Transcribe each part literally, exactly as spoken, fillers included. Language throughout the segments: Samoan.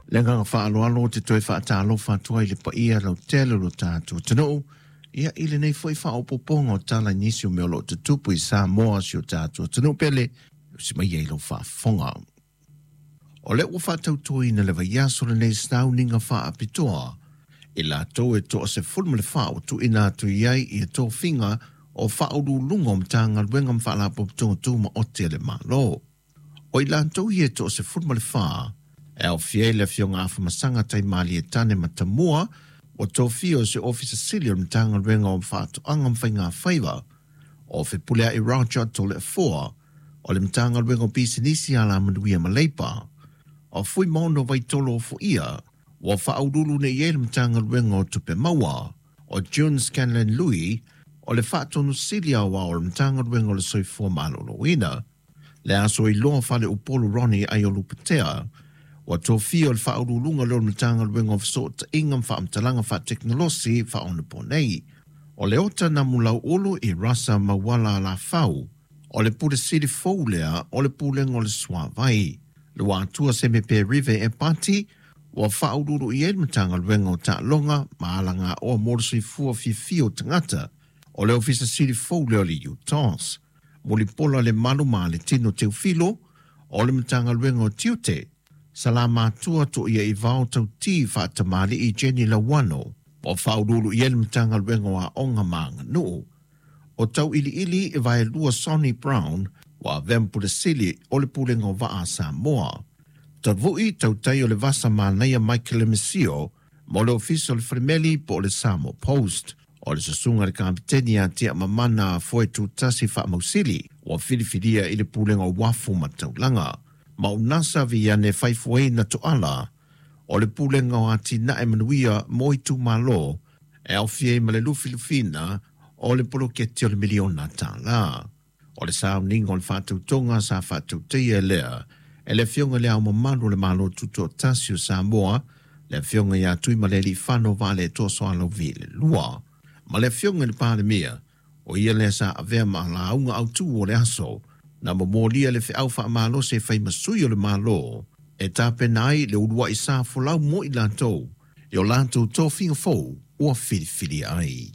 Le agaga faaaloalo ou te toe faatalofa atu ai i le paia lautele o lo tatou atunuu, ia i lenei foi faaopoopoga o tala i nisi o mea o lo o tutupu i Samoa, si o tatou atunuu pele, usi mai ai lau faafofoga. O lea ua faatautoina le vaiaso lenei sauniga faapitoa i latou e toasefulu ma le fa ua tuuina atu i ai ia tofiga o faauluuluga o Matagaluega ma Faalapotopotoga Tumaoti a le Malo. O i latou ia e toasefulu ma le fa, e aofia ai le Afioga Afamasaga Taimalietane Matamua, ua tofia o se Ofisa Sili o le Matagaluega o Faatoaga ma Faiga Faiva, o Fepuleai Roger Toleafoa o le Matagaluega o Pisinisi Alamanuia ma Leipa, o Fuimaono Vaitolo Ofoia, ua faauluulu nei i ai le Matagaluega o Tupe Maua, o June Scanlan Lui, o le Faatonu Sili Aoao o le Matagaluega o le Soifua Maloloina, le Aso Iloa Faleupolu Ronnie Aiolupotea, ua tofia o le faauluuluga lea o le Matagaluega o Fesootaiga ma Faamatalaga Faatekonolosi Faaonaponei, o Leota Namulauulu i Rasa Mauala Alafau, o le Pule Sili fou lea o le Pulega o le Suavai, Luatua Semipe Rive Epati, ua faauluulu i ai le Matagaluega o Taaloga ma Alagaoa mo le Soifua Fiafia o Tagata, o le Ofisa Sili fou lea o le U T O S, Mulipola Lemalu ma le Tino Teufilo o le Matagaluega o Tiute, Salamatua Toia i Vao Tauti Faatamali'i Jenny Lauano, ua faauluulu i ai le Matagaluega o Aoga ma Aganuu, o Tauiliili e Vaelua Sonny Brown, ua avea ma Pule Sili o le Pulega o Vaa a Samoa. Tavu'i Tautai o le Vasa Manaia Michael Lemesio mo le Ofisa o le Falemeli po o le Samoa Post. O le susuga le Kapiteni ia Tia Mamana Foe Tutasi Faamausili ua filifilia i le Pulega o Uafu ma Taulaga. Maunasa Viane Faifuaina Toala o le Pulega o Atinae Manuia mo Itumalo e aofia ai ma le lufilufina o le poloketi o le miliona tala. O le sauniga o le faatautoga sa faatautaia lea e le Afioga i le Ao Mamalu o le Malo Tutoatasi o Samoa, le Afioga ia Tuimalealiifano Vaaletoa Sualauvi le Lua, ma le Afioga i le Palemia, o ia lea sa avea ma lauga autu o le aso, na momolia le feau faamalosi e fai ma sui o le Malo e tapena ai le uluai sa folau mo i latou i o latou tofiga fou ua filifilia ai.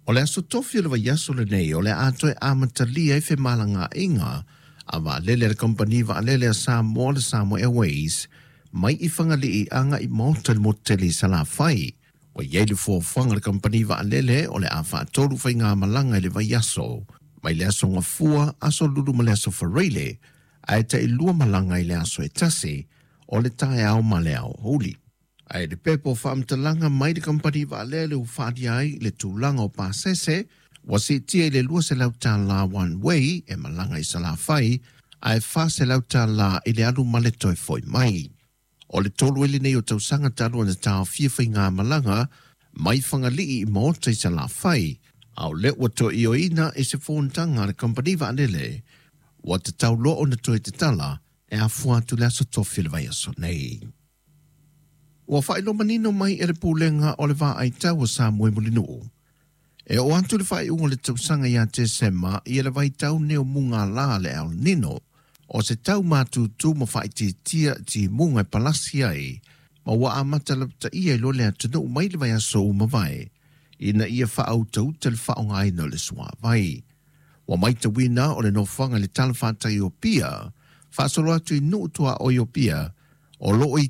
O le aso tofi o le vaiaso lenei o le a toe amatalia ai femalagaaiga a vaalele a le kamupani vaalele a Samoa, le Samoa Airways, mai i Fagalii agai i Maota i le motu tele i Salafai. Ua i ai le fuafuaga a le kamupani vaalele o le a faatolu faigamalaga i le vaiaso, mai le aso Gafua, aso Lulu ma le aso Faraile, ae tailua malaga i le aso e tasi, o le taeao ma le aoauli. Ae le pepa o faamatalaga mai le kamupani vaalele ua faaalia ai le tulaga o pasese ua siitia i le luaselau tala one way e malaga i Salafai, ae fa selau tala i le alu ma le toe foi mai. O le tolu ai lenei o tausaga talu ona taofia faigamalaga mai Fagalii i Maota i Salafai, a o lea ua toe ioeina i se fonotaga a le kamupani vaalele ua tatau loa ona toe tatala e afua atu le aso tofi o le vaiaso nei. Ua faailoa manino mai e le Pulega o le Vaaitau o Samoa i Mulinuu, e oo atu le faaiuga o le tausaga ia Tesema ia le vaitau nei o mugala le El Nino, o se tau matutu ma faaitiitia timuga e palasi ai, ma ua amata lapataia i loa le atunuu mai le vaiaso ua mavae, ina ia faautauta le faaaogaina o le suavai. Ua matauina o le nofoaga i le talafatai o Apia, faasolo atu i Nuu tuaoi o Apia, o loo i